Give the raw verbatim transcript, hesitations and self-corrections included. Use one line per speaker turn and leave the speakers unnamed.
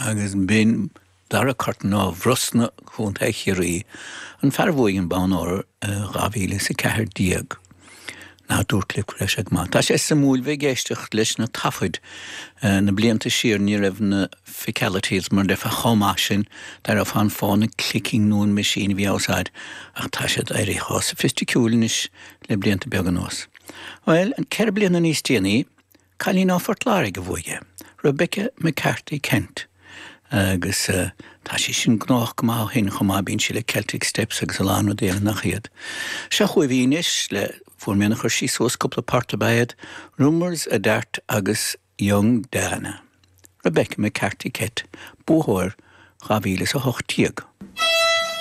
Agus b'in Daragh Curtin ó Bhrosna Contae Chiarraí, an fear a bhuaigh an bonn óir dhá mhíle is a ceathair déag. Ná dúirt libh go raibh sé go maith. Tá sé suimiúil bheith ag éisteacht leis na taifid na blianta siar ní raibh na fecalities mar déarfá chomh maith sin, d'éireofá an fáth na clicking nó an machine a bhí á úsáid ach tá siad éirithe chomh soifisticiúil anois le blianta beaga anuas. Bhuel, ceithre bliana níos déanaí, cailín ó Phort Láirge a bhuaigh é, Rebecca McCarthy Kent. Agus tá sí sin gnóthach go maith ó shin chomh maith, bíonn sí le Celtic Steps agus a lán rudaí eile nach iad. Seo chugaibh í anois le fuair mé ina chuir sí suas cúpla port ab ea iad, Rumours a Dart agus Young Diana. Rebecca McCarthy Kent, buathóir dhá mhíle is a hocht déag.